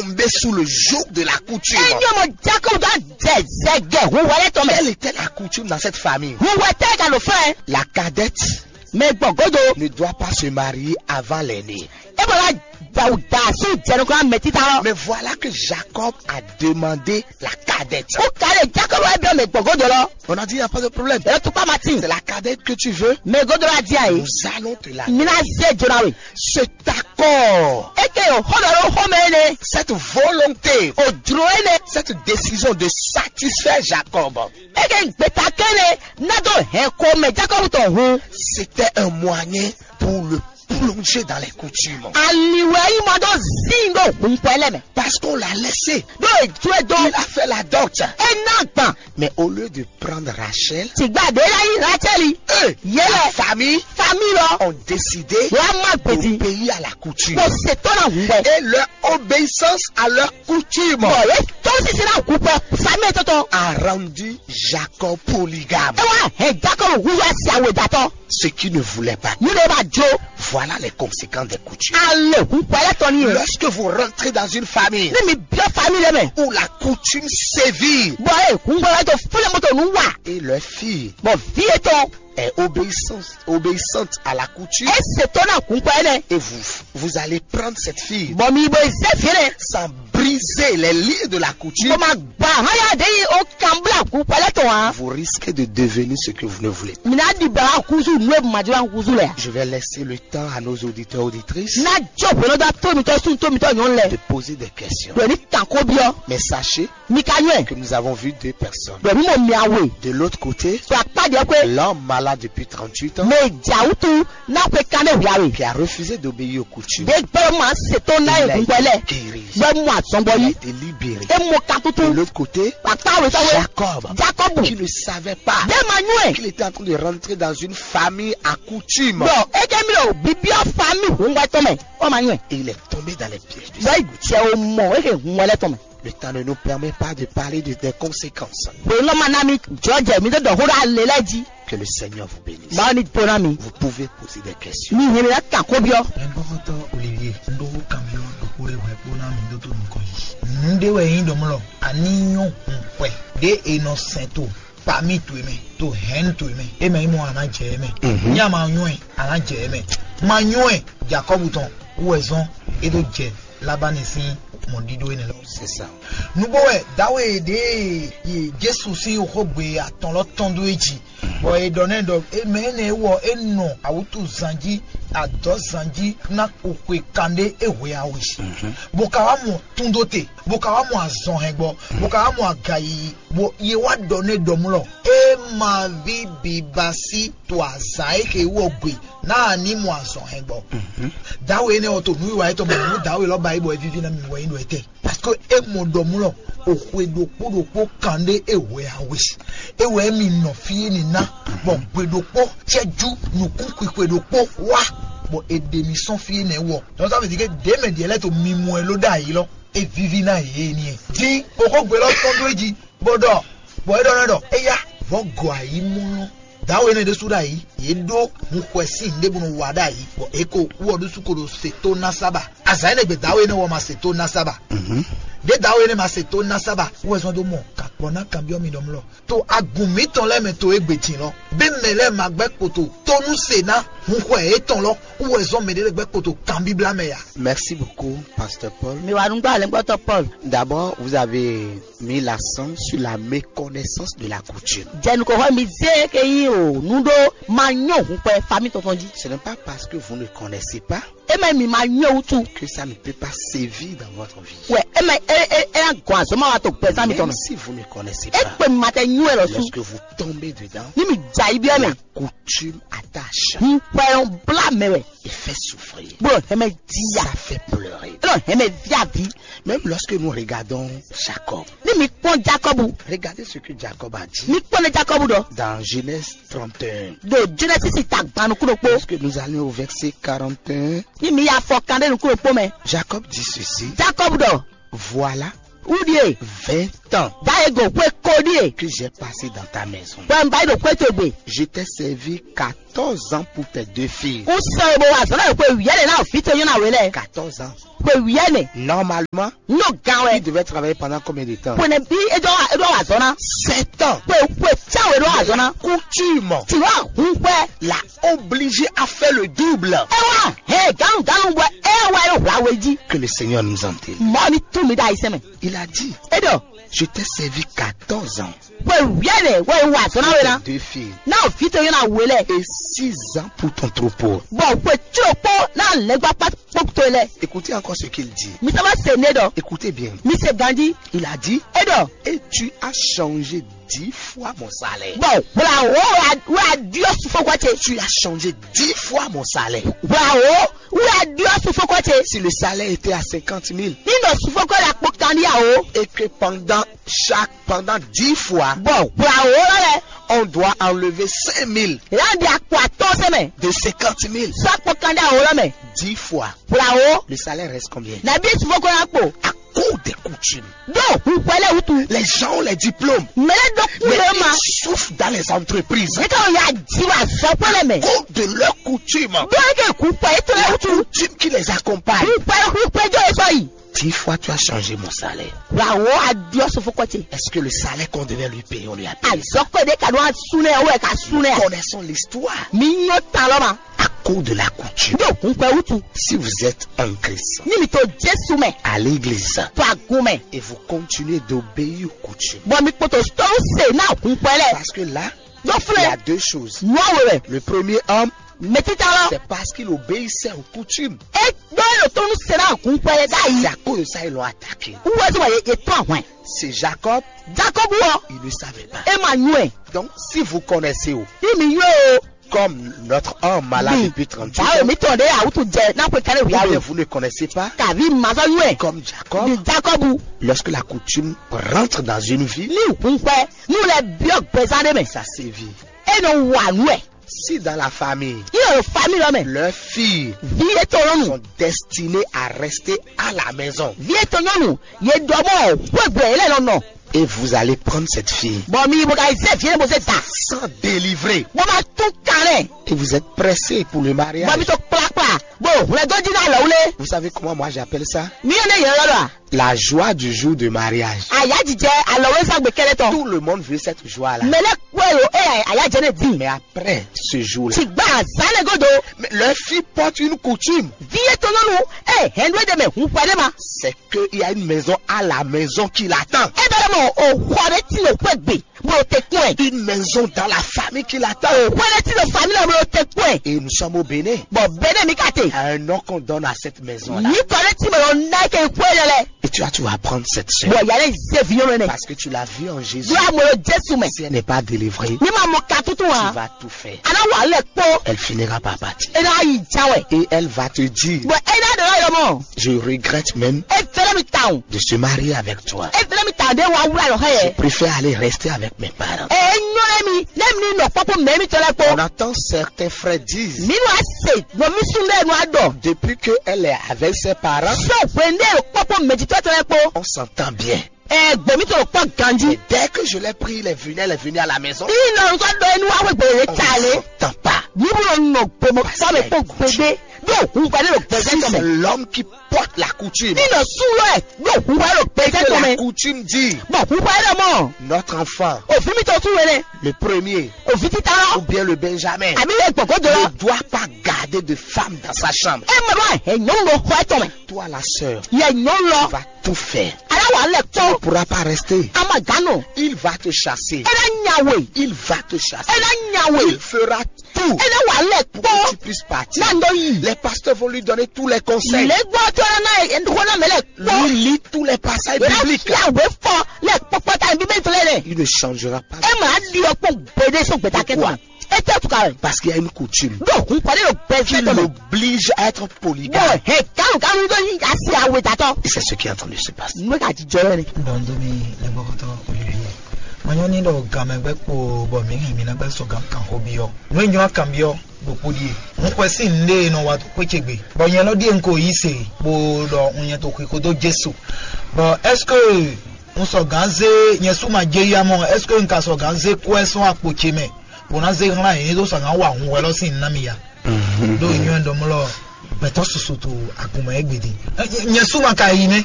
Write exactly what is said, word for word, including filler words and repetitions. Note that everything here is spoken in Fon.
tombé sous le joug de la coutume. Enyo mo Jacob dɔ jɛ zɛgɛ hu wɛlɛ tɔ mɛ. Quelle était la coutume dans cette famille? Hu wɛ tɛ ka lo fɛ. La cadette Mɛ gbɔn godo. Ne doit pas se marier avant l'aîné. E bɔ la dawu da su jɛnukura mɛ tita lɔ. Mais voilà que Jacob a demandé la cadette. Ko ka le Jacob wa biɔ mɛ gbɔn godo lɔ. On a dit, il n'y a pas de problème. Ɛ tukpa ma ti. C'est la cadette que tu veux. Mɛ godo la di ayi. Nous allons te la. Mina ze jona we. Cet accord. Eke yo xɔ dɔ lo xɔ mɛ ne. Cette volonté. O jlo ene. Cette décision de satisfaire Jacob. Eke gbeta kɛnɛ na do hɛn ko mɛ Jacob tɔn hun. C'était un moyen pour le plonger dans les coutumes. Aliwɛ yi mɔ dɔ zin do hun pɛlɛ mɛ. Parce qu'on l'a laissé. Do ejue do. Il a fait la dot. E na gban. Mais au lieu de prendre Rachel, Tigba de la yi Rachel. Eux, yele la famille, famille lɔ. Ont décidé. Wa ma gbedi. D'obéir à la coutume. Ko se to na hun bɛ. Et leur obéissance à leur coutume. Bɔn ye tɔn sisi na hu pɛ famille tɔtɔ. A rendu Jacob polygame. E wa hɛn Jacob hu wa si awe datɔ. Ce qui ne voulait pas. Ni ne ba jo. Voilà les conséquences des coutumes. Ale hu pɛ yɛ tɔn ni ye. Lorsque vous rentrez dans une famille. Ni mi biɔ famille mɛ. Où la coutume sévit. Bɔn e hu pɛ yɛ to fúnɛ mɔtò nu wa. Et leur fille. Bɔn vi yɛ tɔn. Est obéissante, obéissante à la coutume. E se to na hu pɛ yɛ nɛ. Et vous, vous allez prendre cette fille. Bɔn mi bo ze fi nɛ. Sans briser les liens de la coutume. Bɔn ma gba haya de yi o kan bla hu pɛ lɛ tɔn a. Vous risquez de devenir ce que vous ne voulez pas. Mi na di ba kuzu nu e ma di ba kuzu lɛ. Je vais laisser le temps à nos auditeurs, auditrices. Na jɔ bolo da to mi tɔ sun to mi tɔ nyɔnu lɛ. De poser des questions. Bɛ ni kan ko biɔ. Mais sachez. Mi ka nyɔɛ. Que nous avons vu deux personnes. Bɛ mi mɔ mi awe. De l'autre côté. Sɔ akpa diɛ kwe. L'homme malade depuis trente-huit ans. Mɛ jawutu na kwe kan ne wia we. Qui a refusé d'obéir aux coutumes. De gbɛ ma se to na ye gbɛ lɛ. Il a été guéri. Bɛ mu azɔn bɔ yi. Il a été libéré. E mɔ kan tutu. De l'autre côté. Akpa we sɔ we. Jacob. Jacob. Qui ne savait pas. De ma nyɔɛ. Qu'il était en train de rentrer dans une famille à coutume. Bɔn e kɛ mi lɔ bibiɔ famille hun wɛ tɔn mɛ. O ma nyɔɛ. Et il est tombé dans les pièges de. Bɛ jɛ o mɔ e ke hun wɛ lɛ tɔn mɛ. Le temps ne nous permet pas de parler de, des conséquences. Bɔn lɔ ma na mi jɔ jɛ mi de dɔ ho ɖo ale lɛ ji. Que le Seigneur vous bénisse. Mawu ni to na mi. Vous pouvez poser des questions. Mi hɛn mi na kan ko biɔ. Mɛgbɔxɔtɔ Olivier, un ɖó kanbyɔ ɖokpó ɖé hwɛ kpó ná mi ɖó tó nukɔn yi. Nǔ ɖé wɛ nyí ɖɔmlɔ, a ní nyɔ́ hun xwɛ ɖé è nɔ sɛn to pami towe mɛ, to hɛn towe mɛ, é mɛ nyí mɔ a nǎ jɛ é mɛ. Mhm. Ní a ma nyɔ́ ɛ, a nǎ jɛ é mɛ. Ma nyɔ́ ɛ, Jakɔ́bu tɔn wú wɛ zɔ́n é ɖó jɛ Labani sín mɔ̌ɖíɖó énɛ́ lɔ. C'est ça. Nǔgbó wɛ dǎwe ɖě e Jesu sín xógbe atɔn lɔ tɔ́n dó é jí, bɔ è ɖɔ nɛ́ ɖɔ é mɛ énɛ́ wɔ é nɔ awútu zan jí, adɔ̌ zan jí ná xwixwe kanɖé é hwe awe. Mhm. Bó ka wá mɔ túndóte, bó ka wá mɔ azɔn hɛngbɔ, bó ka wá mɔ aga yiyi, bó yě wá ɖɔ nɛ́ ɖɔmlɔ. É ma ví biba sí to azǎn e xe wɔ gbe ná a ní mɔ azɔn hɛngbɔ. Mhm. Dǎwe énɛ́ ɔ́ to nǔwiwa yětɔn mɛ nú dǎwe lɔ́ ba yí bɔ é víví ná mi wɛ nyí ɖo étɛ́. Parce que é mɔ ɖɔmlɔ o xwe ɖokpó ɖokpó kanɖé é hwe awe. É wɛ mi nɔ fí énɛ́ ná, bɔ gbe ɖokpó cɛ́jú nǔkún xwixwe ɖokpó wá, bɔ è ɖe mi sɔ́n fí énɛ́ wɔ. Donc ça veut dire que ɖě mɛ ɖě lɛ́ɛ to mi mɔ ɛ ló ɖ'ayǐ lɔ, é víví ná yě énɛ́. Dín o xó gbe lɔ tɔn dó é jí, bó ɖɔ, bɔ é ɖɔ nɛ́ ɖɔ éyá, vɔ̌ gɔ ayǐ mɔ lɔ. Dǎwe énɛ́ ɖésú ɖ'ayǐ, yě ɖó hun xwɛ sín nǔɖé bó nɔ wa ɖ'ayǐ, bɔ é ko wú ɔ ɖésú ko ɖo se tó ná sábà. Azǎn énɛ́ gbe dǎwe énɛ́ wɔ ma se tó ná sábà. Mhm. Ɖě dǎwe énɛ́ ma se tó ná sábà, wú wɛ zɔ́n dó mɔ kakpɔ ná kanbyɔ́ mi ɖɔmlɔ. To agun mǐtɔn lɛ́ɛ mɛ to égbé din lɔ, bɛ́ mɛ lɛ́ɛ ma gbɛ́ kpoto tó nú se ná hun xwɛ yětɔn lɔ, wú wɛ zɔ́n mɛɖé lɛ́ɛ gbɛ́ kpoto kanbíblá mɛ ya. Merci beaucoup, Pasteur Paul. Mi wa nugbo alɛngbɔtɔ Paul. D'abord, vous avez mis l'accent sur la méconnaissance de la coutume. Jɛnukɔxɔ mi zé ke yí o nuɖó ma nyɔ hun kpɛ fami tɔntɔn jí. Ce n'est pas parce que vous ne connaissez pas E mɛ mi ma nyɔ wutu. Que ça ne peut pas sévir dans votre vie. Wɛ e mɛ e e e na gɔn azɔn ma wa to gbɛzan mi Même tɔn. Si vous ne connaissez E pas, kpe mi ma tɛ nyɔ ɛ lɔ su. Lorsque vous tombez dedans, Ni mi dza yi biɛ mɛ. La coutume attache Hun kpɛ bla mɛ wɛ. Et fait souffrir. Bro hɛmɛ diya. Ça fait pleurer. Lɔ hɛmɛ viavi. Même lorsque nous regardons Jacob, Ni mi kpɔn Jacob. Regardez ce que Jacob a dit. Mi kpɔn ne Jacob dɔ. Dans Genèse trente et un. Do Genesis ta gbanu kuɖo kpo. Lorsque nous allons au verset quarante et un, Ni mi ya fɔ kan ɖe nukun ɖokpo mɛ. Jacob dit ceci. Jacob dɔ. Voilà. Wudie. Vingt Sept ans Dá e go xwe ko ɖíe. Que j'ai passé dans ta maison. Bɔ n ba yi ɖo xwe towe gbe. Je t'ai servi quatorze ans pour tes deux filles. N sɔ e bo wa zɔn náà xwe wíyá ɖe ná fi to nyɔ́ na wé lɛ. Quatorze ans. Xwe wíyá nɛ. Normalement, N ɖo gan il wɛ. Devait travailler pendant combien de temps? Xwe nɛ bí e ɖɔ wa zɔn ná. Sept ans. Xwe xwe tsa wɛ ɖɔ wa zɔn ná. Coutume. Ti wa hun xwe. L'a obligé à faire le double. E wa hɛ ganu ganu bɔ e wa e hwa we jí. Que le Seigneur nous entende. Mɔ ni tún mi ɖe ayisɛn mɛ. Il a dit, E ɖɔ je t'ai servi quatorze ans. Xwe wíyá ɖe wɛ wa zɔn ná wɛ ná. Deux filles. Ná o fi to nyɔ́ na wé lɛ. Et six ans pour ton troupeau. Bɔ xwe tso kpó ná lɛgbakpa kpó to lɛ. Écoutez encore ce qu'il dit. Mi saba se ne ɖɔ. Écoutez bien. Mi se ganji. Il a dit, E ɖɔ. Et tu as changé dix fois mon salaire. Bɔ wla wo wla diɔ sufɔkɔ ce. Tu as changé dix fois mon salaire. Wla wo wla diɔ sufɔkɔ ce. Si le salaire était à cinquante mille Ni nɔ sufɔkɔ la kpó kan ɖi awo. Et que pendant chaque, pendant dix fois, Bɔ wla wo lɔ lɛ. On doit enlever cinq mille Lan di akpɔ atɔ sɛ mɛ. De cinquante mille. Sɔ akpɔ kan ɖi awo lɔ mɛ. Dix fois. Wla wo. Le salaire reste combien? Na bi sufɔkɔ la kpó. À cause des coutumes. Do hukwɛlɛ wutu. Les gens ont les diplômes. Mɛlɛ dɔ Mais kule ma. Ils souffrent dans les entreprises. Ne ka ya ji wa zɔkpɛlɛ mɛ. Cause de leurs coutumes. Do ke hukwɛ etɔ la La wutu. Coutume qui les accompagne. Hukwɛ hukwɛ jɔ esɔ yi. Dix fois tu as changé mon salaire. Wla wo adiɔ sufɔkɔ ce. Est-ce que le salaire qu'on devait lui payer, on lui a payé? Azɔkɔ de ka do asunɛ o ka sunɛ. Connaissons l'histoire. Mi nyɔ ta lɔ ma. À cause de la coutume. Do hukwɛ wutu. Si vous êtes en Christ, Ni mi to Jesu mɛ. À l'église, To agun mɛ. Et vous continuez d'obéir aux coutumes. Bɔ mi kpoto tɔw se na hukwɛ lɛ. Parce que là, Do il y a filɛ. Deux choses. Nua wo wɛ. Le premier homme, Mɛ tita lɔ. C'est parce qu'il obéissait aux coutumes. E do e lo tonu se na hukwɛ lɛ da C'est yi. À cause de ça, ils l'ont attaqué. Wɔ to ma ye ye tɔ ahwɛn. C'est Jacob, Jacob wɔ. Il ne savait pas. E ma nyuɛ. Donc, si vous connaissez, oh, Ni mi yɔ o. Comme notre homme malade depuis trente-huit Bawo ans, mi tɔn de awutu jɛ na ko kare Ou wia bien o. Vous ne connaissez pas, Kavi mazɔ nyuɛ. Comme Jacob, Ni Jacob. Lorsque la coutume rentre dans une vie, Ni hukwɛ. Nu lɛ biɔ gbɛzan de mɛ. Ça sévit. E nɔ wa nuɛ. Si dans la famille, Ni yɔ famille lɔ mɛ. Leurs filles Vi etɔ nyɔnu. Sont destinées à rester à la maison. Vi etɔ nyɔnu. Ye dɔ mɔ wegbe yɛ lɛ nɔ nɔ. Et vous allez prendre cette fille Bɔ mi bo ka yi zɛ vie bo se da. Sans délivrer. Bɔ ma tún kan lɛ. Et vous êtes pressé pour le mariage. Bɔ mi to kplakpla. Bo hwlɛ dɔ di na lɔ wle. Vous savez comment moi j'appelle ça? Mi yɔ ne yɛ lɔ lɔ. La joie du jour de mariage. Aya jijɛ alɔ wle sa gbe kɛlɛ tɔ. Tout le monde veut cette joie-là. Mɛ lɛ kpɔ elo e aya jɛ ne di. Mais après ce jour-là, Ti gba azan ne godo. Mais leur fille porte une coutume. Vi etɔ nyɔnu. E hɛn do de mɛ hun pɛ de ma. C'est qu'il y a une maison à la maison qui l'attend. E bɛ mɔ o xɔ de ti o kpɛ gbe. Bo te kpɛ. Une maison dans la famille qui l'attend. O xɔ de ti o famille bo te kpɛ. Et nous sommes au Bénin. Bɔ bɛ ne mi ka te. Un nom qu'on donne à cette maison-là. Ni kɔ de ti mɛ lɔ na ke kpɛ lɛ lɛ. Et tu as tu vas prendre cette sœur. Bɔ yale ze vi yɔn ne. Parce que tu l'as vue en Jésus. Dura mo Jesu mɛ. Si elle n'est pas délivrée, Ni ma mɔ ka tutu tu wa. Vas tout faire. Ana wa lɛ kpɔ. Elle finira par partir. E na yi ja wɛ. Et elle va te dire, Bɔ e na dɔ yɔ mɔ. Je regrette même E fɛrɛ mi ta o. De se marier avec toi. E fɛrɛ mi ta de wa wula lɔ hɛ Je yɛ. Préfère aller rester avec mes parents. E nyɔ lɛ mi ne mi ni nɔ kpɔkpɔ mɛ mi tɔ lɛ On kpɔ. Entend certains frères disent, Mi nu a se nɔ mi sun lɛ nu a dɔ. Depuis qu'elle est avec ses parents, Sɔ hwende kpɔkpɔ mɛ ti tɔ tɔ lɛ kpɔ. On s'entend bien. Ɛ gbɔ mi tɔ kpɔ ganji. Mais dès que je l'ai pris, il est venu, elle est venue à la maison. Ina nutɔ dɔ enu wa wegbe le On ta ne le. s'entend pas. Ni bu nɔ nɔ gbɔmɔ sɔ mɛ kpɔ gbegbe. Do hun kpa ne lo gbɛsɛ Si tɔ c'est mɛ. L'homme qui porte la coutume, Ni nɔ sun lɔ ɛ do hun kpa ne lo gbɛsɛ Que tɔ la mɛ. Coutume dit, Bɔn hun kpa ne lo mɔ. Notre enfant, Ovi mi tɔ tu wele. Le premier, Ovi tita Ou lɔ. Bien le Benjamin, Abi le gbɔgbɔ do Ne lɔ. Doit pas garder de femme dans sa chambre. E mɛ bɔ ɛ nyɔnu do xɔ etɔ mɛ. Toi la sœur, Yɛ nyɔnu lɔ. Va tout faire. Ala wa lɛ Tu ne kpɔ. Pourras pas rester. Ama gano. Il va te chasser. E na nya we. Il va te chasser. E na nya we. Il fera tout E na wa lɛ Pour que tu kpɔ. Puisses partir. Na ndo yi. Les pasteurs vont lui donner tous les conseils. Le gbɔ tɔ na na e ko na mɛ lɛ Lui kpɔ. Lit tous les passages E na Bibliques. Fia we fɔ lɛ kpɔkpɔ ta bi bɛ tɔ lɛ. Il ne changera pas. E ma di ɔkpɔ gbede so gbeta kɛ tɔ. E tɛ tuka. Parce qu'il y a une coutume. Do kun kɔni lo gbɛsɛ Qui tɔ mɛ. L'oblige à être Bɔ polygame. Hɛ kanu kanu do yi asi awe datɔ. Et c'est ce qui est en train de se passer. Nwe ka ti jɔ yɛ ni. Dɔn do mi le gbɔkɔtɔ Olivier. Manyɔ ni ɖɔ gamɛ gbɛ kpo bɔ mi hɛn mi na gbɛ sɔ gan kan xo bi ɔ. Nu e nyɔ kan bi ɔ ɖokpo ɖie. N xwɛ si n ɖe nɔ wa to xwé ce gbe. Bɔ nyɛ lɔ ɖie n ko yi se bo ɖɔ n nyɛ to xwi xo do Jesu. Bɔ est-ce que Un sɔ gǎn zé nyɛ sú ma jɛ ya mɔ, est-ce que un ka sɔ gǎn zé kó ɛ sɔn akpo ce mɛ, bó ná zé hlán yě ɖó sɔgǎn wa hun wɛ lɔ sín ná mi ya? Ɖó nyɔ́ ɖɔmlɔ gbɛtɔ́ susu to agun mɛ égbé din. Nyɛ sú ma ka yi nɛ.